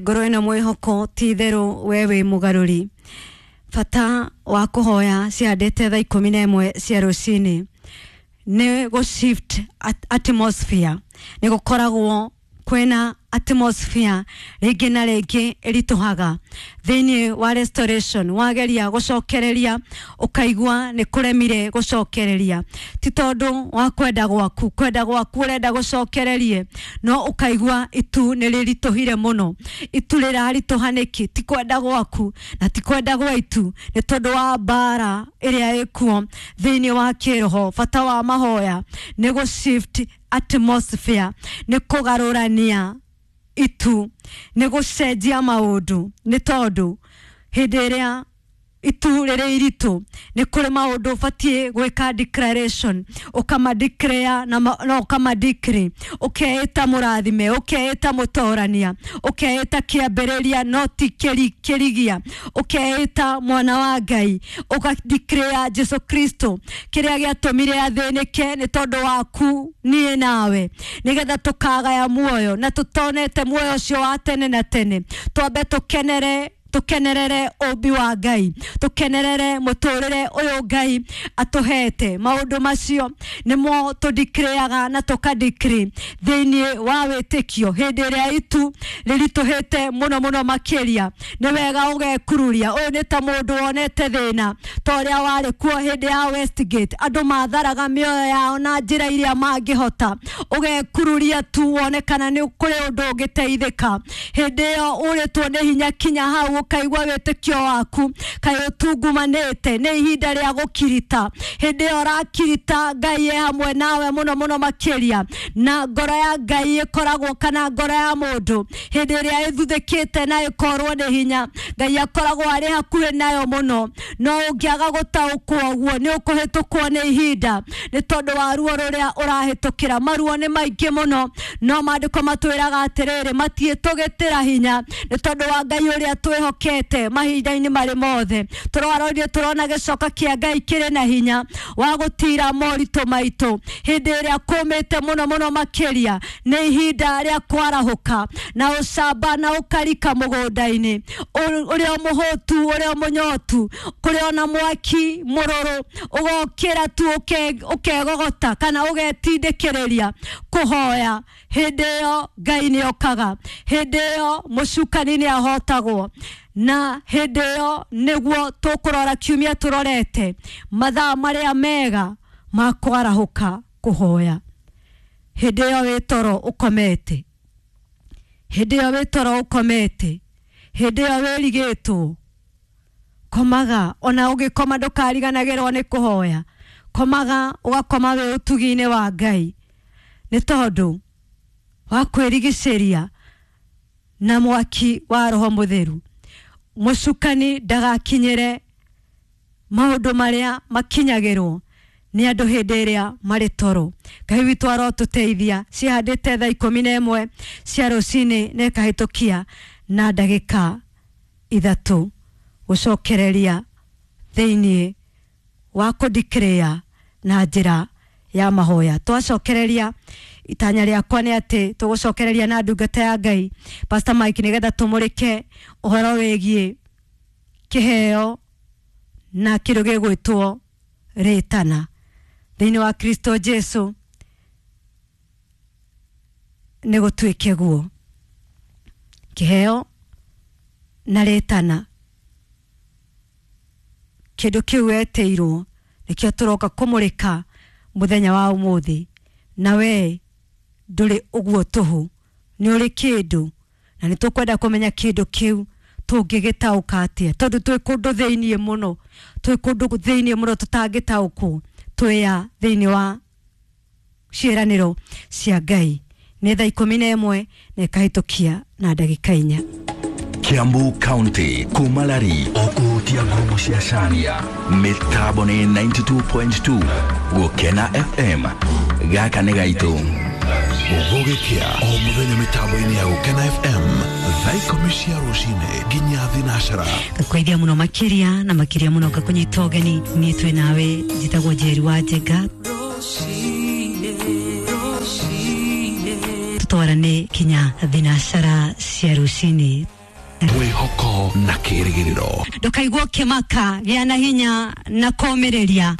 Ngoro ĩno mwĩhoko ti itherũ we wĩ mũgarũri. Bata wa kũhoya cihandĩte thaa 11 cia rũcinĩ nĩ gũ shift atmosphere. Nĩ gũkoragwo kwĩna atmosphere rĩngĩ na rĩngĩ ĩritũhaga thĩinĩ wa restoration. Wageria gũcokereria ũkaigua nĩ kũremire gũcokereria, ti tondũ wa kwenda gwaku, kwenda gwaku ũrenda gũcokererie, no ũkaigua itu nĩ rĩritũhire mũno. Itu rĩraritũha nĩkĩ? Ti kwenda gwaku na ti kwenda gwa itu, nĩ tondũ wa mbara ĩrĩa ĩkuo thĩinĩ wa kĩroho. Bata wa mahoya nĩ gũ shift atmosphere, nĩ kũgarũrania itu, nĩ gũcenjia maũndũ, nĩ tondũ hĩndĩ ĩrĩa itu rĩrĩ iritũ nĩ kũrĩ maũndũ ũbatiĩ gwĩka declaration, ũkama declare na no ũkama decree, ũkeĩta mũrathime, ũkeĩta mũtorania, ũkeĩta kĩambĩrĩria no ti kĩrigia, ũkeĩta mwana wa Ngai, ũka declare Jesu Kristo kĩrĩa gĩatũmire athĩnĩke nĩ tondũ waku niĩ nawe, nĩgetha tũkagaya muoyo na tũtonete muoyo ũcio wa tene na tene. Twambe tũkenere, tukenerere ũmbi wa Ngai, tukenerere mũtũrĩre ũyũ Ngai atũhete. Maũndũ macio nĩmo tũdeclareaga na tũkadecree thĩinĩ wa wĩtĩkio. Hĩndĩ ĩrĩa itu rĩritũhĩte mũno mũno makĩria, nĩ wega ũgekururia. Ũyũ nĩ ta mũndũ wonete thĩna ta ũrĩa warĩ kuo hĩndĩ ya Westgate, andũ matharaga mĩoyo yao na njĩra iria mangĩhota. Ũgekururia tu wone kana nĩ kũrĩ ũndũ ũngĩteithĩka. Hĩndĩ ĩyo ũrĩtwo nĩ hinya kinya hau ũkaigua wĩtĩkio waku kaĩ ũtungumanĩte, nĩ ihinda rĩa gũkirita. Hĩndĩ ĩyo ũrakirita, Ngai e hamwe nawe mũno mũno makĩria, na ngoro ya Ngai ĩkoragwo, kana ngoro ya mũndũ hĩndĩ ĩrĩa ĩthuthĩkĩte na ĩkorwo nĩ hinya, Ngai akoragwo arĩ hakuhĩ nayo mũno. No ũngĩaga gũtaũkwo ũguo, nĩ ũkũhĩtũkwo nĩ ihinda nĩ tondũ wa ruo rũrĩa ũrahĩtũkĩra. Maruo nĩ maingĩ mũno, no maandĩko matwĩraga atĩrĩrĩ, matiĩtũgĩtĩra hinya nĩ tondũ wa Ngai ũrĩa twĩhokete mahinda-inĩ marĩ mothe. Tũrarorire tũrona gĩcoka kĩa Ngai kĩrĩ na hinya wa gũtira moritũ maitũ. Hĩndĩ ĩrĩa kũmĩte mũno mũno makĩria, nĩ ihinda rĩa kwarahũka na ũcamba na ũkarika mũgũnda-inĩ ũrĩa mũhũtu, ũrĩa mũnyotu, kũrĩ ona mwaki mũrũrũ, ũgokĩra tu ũkegogota kana ũgetindĩkĩrĩria kũhoya. Hĩndĩ ĩyo Ngai nĩ okaga, hĩndĩ ĩyo mũcukani nĩ ahotagwo, na hĩndĩ ĩyo nĩguo tũkũrora kiumia tũrorete mathaa marĩa mega ma kwarahũka kũhoya. Hĩndĩ ĩyo wĩ toro ũkomete, hĩndĩ ĩyo wĩ toro ũkomete, hĩndĩ ĩyo wĩrigĩtwo, komaga. Ona ũgĩkoma ndũkariganagĩrwo nĩ kũhoya. Komaga ũgakoma wĩ ũtugi-inĩ wa Ngai, nĩ tondũ wa kwĩrigicĩria na mwaki wa Roho Mũtheru. Mũcukani ndagakinyĩre maũndũ marĩa makinyagĩrwo nĩ andũ hĩndĩ ĩrĩa marĩ toro. Ngai witũ arotũteithia. Cihandĩte thaa 11 cia rũcinĩ na ĩkahĩtũkia na ndagĩka 3 gũcokereria thĩinĩ wa kũdeclare na njĩra ya mahoya. Twacokereria, itanya rĩakwa nĩ atĩ tũgũcokereria na ndungata ya Ngai Pastor Mike, nĩgetha tũmũrĩke ũhoro wĩgiĩ kĩheo na kĩndũ gĩgwĩtwo rĩtana thĩinĩ wa Kristo Jesu. Nĩ gũtuĩke guo, kĩheo na rĩtana, kĩndũ kĩu wetĩirwo nĩkĩo tũroka kũmũrĩka mũthenya wa ũmũthĩ. Na we ndũrĩ ũguo tũhũ, nĩ ũrĩ kĩndũ, na nĩ tũkwenda kũmenya kĩndũ kĩu tũngĩgĩtaũka atĩa, tondũ twĩ kũndũ thĩiniĩ mũno, twĩ kũndũ thĩiniĩ mũno tũtangĩtaũkwo. Twĩya thĩiniĩ wa ciĩranĩro cia Ngai. Nĩ thaa 11 na ĩkahĩtũkia na ndagĩka 4. Kiambu County, Kumalari, okuhutia ngurumo cia Cania, mĩtambo nĩ 92.2 Gũkena FM. Gaka nĩ gaitũ. Gũgĩkĩa o mũthenya mĩtambo-inĩ ya Gũkena FM thaa 10 cia rũcinĩ nginya thinacara. Ngakũgeithia mũno makĩria na makĩria mũno, ngakũnyita ũgeni. Niĩ twĩ nawe, njĩtagwo Njeri wa Njenga. Tũtwarane kinya thinacara cia rũcinĩ. Mwĩhoko na kĩrĩgĩrĩro. Ndũkaigua ũkĩmaka, gĩa na hinya na kũũmĩrĩria.